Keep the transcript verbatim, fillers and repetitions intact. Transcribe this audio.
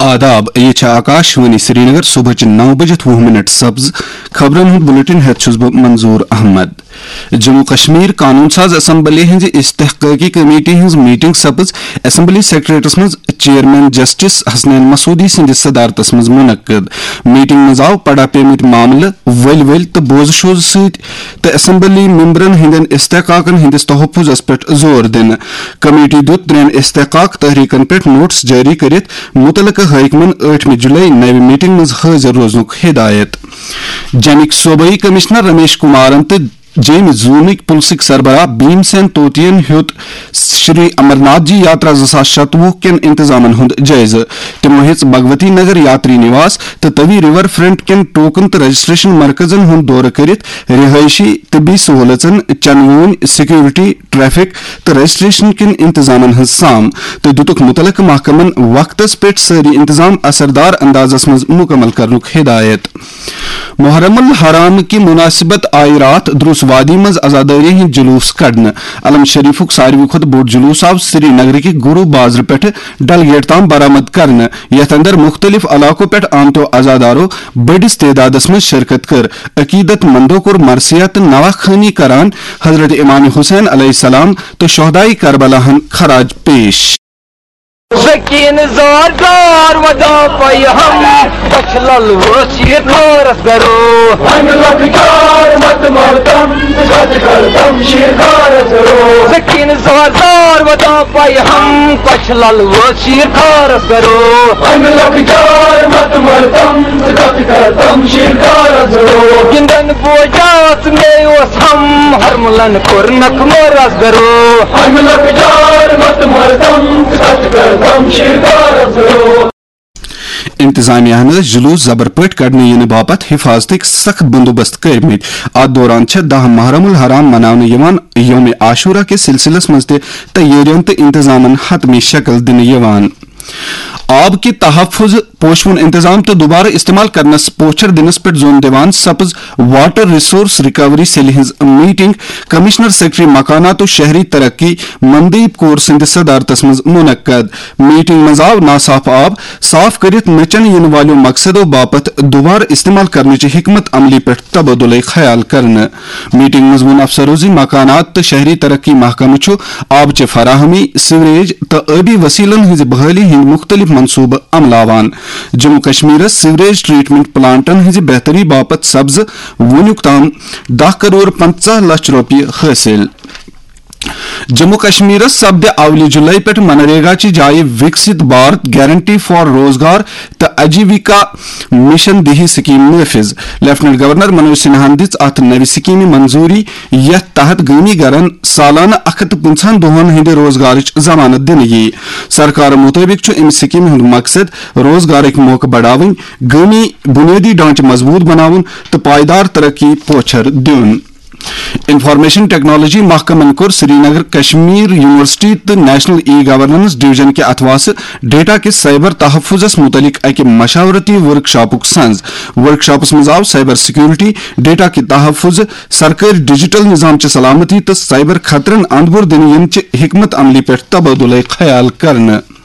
آداب، یہِ چھِ آکاش وانی سرینگر۔ صبحٕچہِ نَو بجِتھ وُہ منٹ سپٕز۔ خبرن ہُنٛد بلیٹن ہٮ۪تھ چھُس بہٕ منظور احمد۔ جموں کشمیر قانون ساز اسمبلی ہٕنٛزِ استحقاقی کمیٹی ہٕنٛز میٹنگ سپٕز اسمبلی سیکریٹریٹس منٛز چیئرمین جسٹس حسنین مسعودی سٕنٛدِس صدارتس منٛز منعقد۔ میٹنگ منٛز آو پڑا پیمٕتۍ معاملہٕ ؤلۍ ؤلۍ تہٕ بوزٕ شوزٕ سۭتۍ تہٕ اسمبلی ممبرن ہٕنٛدٮ۪ن استحقاقن ہٕنٛدِس تحفظس پٮ۪ٹھ زور دِنہٕ۔ کمیٹی دِیُت ترٛٮ۪ن استحقاق تحریکن پٮ۪ٹھ نوٹس جٲری کٔرِتھ متعلقہٕ حٲکمن ٲٹھمہِ جولائی نوِ میٹنگ منٛز حٲضِر روزنُک ہدایت۔ جمِکۍ صوبٲئی کمشنر رمیش کمارن تہٕ جیمۍ زونٕکۍ پُلسٕکۍ سربراہ بھیم سین طوطین ہیوٚت شری امرناتھ جی یاترا زٕ ساس شتوُہ کٮ۪ن انتظامن ہُنٛد جٲیزٕ۔ تِمو ہیٚژ بھگوتی نگر یاتری نواس تہٕ توی ریور فرنٹ کٮ۪ن ٹوکن تہٕ رجسٹریشن مرکزن ہُنٛد دورٕ کٔرِتھ رہٲیشی، طبی سہولژن، چنہٕ وونۍ، سیکورٹی، ٹریفک تہٕ رجسٹریشن کٮ۪ن انتظامن ہٕنٛز سام تہٕ دِتُکھ مُتعلقہٕ محکمن وقتس پٮ۪ٹھ سٲری انتظام اثردار اندازس منٛز مکمل کرنُک ہدایت۔ محرم الحرام کہِ مناسبت آیہِ راتھ دروس وادی منٛز عزادٲری ہٕنٛدۍ جلوس کڑنہٕ۔ علم شریفُک ساروی کھۄتہٕ بوٚڑ جلوس آو سری نگرٕکہِ گرو بازرٕ پٮ۪ٹھٕ ڈل گیٹ تام برآمد کرنہٕ، یتھ اندر مختلف علاقو پٮ۪ٹھ آمتیو عزادارو بٔڑِس تعدادس منٛز شرکت کٔر۔ عقیدت مندو کوٚر مرثیہ تہٕ نواخوانی کران حضرت امام حسین علیہ السلام تہٕ شہدائے کربلاہن خراج پیش۔ سکین زار زار ودان پائی ہم، بچھ لل وس یہ کارس گرو۔ ہم لکھ جار مت مردم، سچ کردم شیر کارس گرو۔ سکین زار زار ودان پائی ہم، بچھ لل وس یہ کارس گرو۔ ہم لکھ جار مت مردم، سچ کردم شیر کارس گرو۔ گندن بوجاس مے اوس ہم، ہرملن کور نکھ مورس گرو۔ ہم لکھ جار مت مردم، سچ کردم شیر کارس گرو۔ انتظامیہ ہن ٲسۍ جلوس زبر پٲٹھۍ کڑنہٕ یِنہٕ باپتھ حفاظتٕکۍ سخت بندوبست کٔرمٕتۍ۔ اتھ دوران چھےٚ دَہ محرم الحرام مناونہٕ یِوان۔ یوم عاشورہ کِس سلسلس منٛز تہِ تیٲرین تہٕ انتظامن حتمی شکل دِنہٕ یِوان۔ آب کہِ تحفظ، پوشہٕ وُن انتظام تہٕ دوبارٕ استعمال کرنس پوچھر دِنس پٮ۪ٹھ زون دِوان سپٕز واٹر ریسورس ریکوری سیلہِ ہٕنٛز میٹنگ کمشنر سیکرٹری مکانات و شہری ترقی مندیپ کور سٕنٛدِ صدارتس منٛز منعقد۔ میٹنگ منٛز آو ناصاف آب صاف کٔرِتھ نہٕ چنہٕ یِنہٕ والٮ۪و مقصدو باپتھ دوبارٕ استعمال کرنٕچہِ حکمت عملی پٮ۪ٹھ تبادلے خیال کرنہٕ۔ میٹنگ منٛز ووٚن افسرو زِ مکانات تہٕ شہری ترقی محکمہٕ چھُ آبچہِ فراہمی، سیوریج تہٕ ٲبی وسیلن ہٕنٛزِ بحالی ہٕنٛدۍ مُختٔلِف منصوبہٕ عملاوان۔ جموں کشمیرس سیوریج ٹریٹمنٹ پلانٹن ہٕنٛزِ بہتری باپتھ سپزٕ وُنیُک تام دَہ کروڑ پنٛژاہ لچھ رۄپیہِ حٲصِل۔ جموں کشمیرس سپدِ اولہِ جولائی پٮ۪ٹھ منریگا چہِ جایہِ وکسِت بھارت گارنٹی فار روزگار تہٕ اجیویکا مشن دیہی سکیم نافذ۔ لیفٹننٹ گورنر منوج سنہاہن دِژ اتھ نوِ سکیمہِ منظوری، یتھ تحت گٲمی گرن سالانہٕ اکھ ہتھ تہٕ پٕنٛژٕہن دۄہن ہٕنٛدِ روزگارٕچ ضمانت دِنہٕ یِیہِ۔ سرکار مُطٲبِق چھُ امہِ سکیمہِ ہُنٛد مقصد روزگارٕکۍ موقعہٕ بڑاوٕنۍ، گٲمی بُنیٲدی ڈھانچہٕ مضبوٗط بناوُن تہٕ پائیدار ترقی پوچھر دیُن۔ انفارمیشن ٹیکنالوجی محکمن کوٚر سرینگر کشمیر یونیورسٹی تہٕ نیشنل ای گورننس ڈویژن کہِ اتھواسہٕ ڈیٹا کِس سائبر تحفظس متعلق اکہِ مشاورتی ورک شاپُک سنز۔ ورک شاپس منٛز آو سائبر سیکورٹی، ڈیٹا کہِ تحفظ، سرکٲرۍ ڈیجیٹل نظام چہِ سلامتی تہٕ سائبر خطرن اندپور دِنہٕ یِنہٕ چہِ حکمت عملی پٮ۪ٹھ تبادلے خیال کرنہٕ۔